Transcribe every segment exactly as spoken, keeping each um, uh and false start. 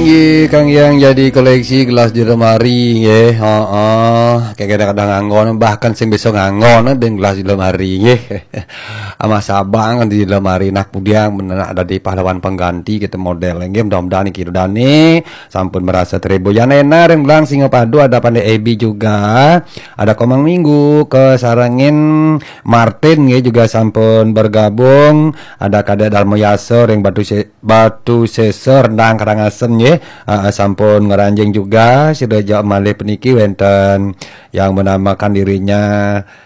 Nggih, kangge yang jadi koleksi gelas di lemari, nggih. Heeh. Kayak kadang-kadang nganggon, bahkan sing bisa nganggon dengan gelas di lemari, nggih. Amah Sabang di lemari, nak pudiang bener ada di pahlawan pengganti kita model, nggih. Mudah-mudahan niki dane sampun merasa terhibur. Yan Ena ring Belang Singapadu, ada Pandai Ebi juga, ada Komang Minggu, kesarengin Martin, nggih, juga sampun bergabung, ada Kadek Darmo Yasa ring Batu Se-, Batu Sesor, Rendang, Karangasem, nggih. Ah, sampun ngranjing juga, sida ja malih puniki wenten yang menamakan dirinya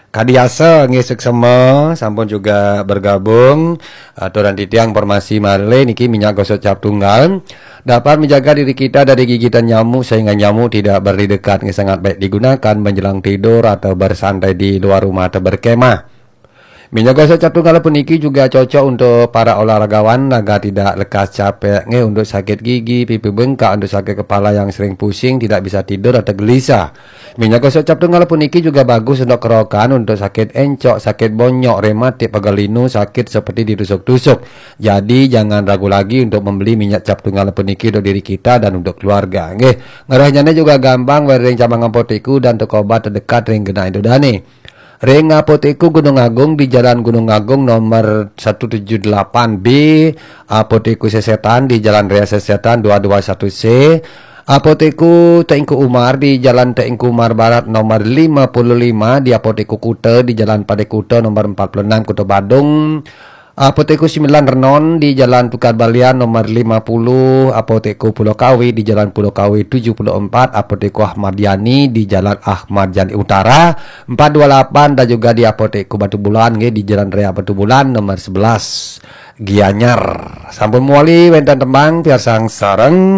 Kadiasa, nggih, suksema, sampun juga bergabung. Aturan titiang informasi malih niki minyak gosok cap tunggal dapat menjaga diri kita dari gigitan nyamuk sehingga nyamuk tidak berani dekat, nggih, sangat baik digunakan menjelang tidur atau bersantai di luar rumah atau berkemah. Minyak gosok cap tunggal puniki juga cocok untuk para olahragawan, agar tidak lekas capek, nggih, untuk sakit gigi, pipi bengkak, untuk sakit kepala yang sering pusing, tidak bisa tidur atau gelisah. Minyak gosok cap tunggal puniki juga bagus untuk kerokan, untuk sakit encok, sakit bonyok, rematik, pegal linu, sakit seperti ditusuk-tusuk. Jadi jangan ragu lagi untuk membeli minyak cap tunggal puniki untuk diri kita dan untuk keluarga, nggih. Ngrehnyane juga gampang, wér ring cabang apotek dan toko obat terdekat ring genah ida dane. Ring Apotek Gunung Agung di Jalan Gunung Agung nomor satu tujuh delapan B, Apotek Sesetan di Jalan Raya Sesetan dua dua satu C, Apotek Teungku Umar di Jalan Teungku Umar Barat nomor lima puluh lima, di Apotek Kuta di Jalan Padang Kuta nomor empat puluh enam, Kuta Badung, Apotek Sembilan Renon di Jalan Tukad Balian nomor lima puluh, Apotek Pulau Kawi di Jalan Pulau Kawi tujuh puluh empat, Apotek Ahmad Yani di Jalan Ahmad Yani Utara empat dua lapan, dan juga di Apotek Batu Bulan, nggih, di Jalan Raya Batu Bulan nomor sebelas, Gianyar. Sampun mawali wénten tembang, piarsang sareng.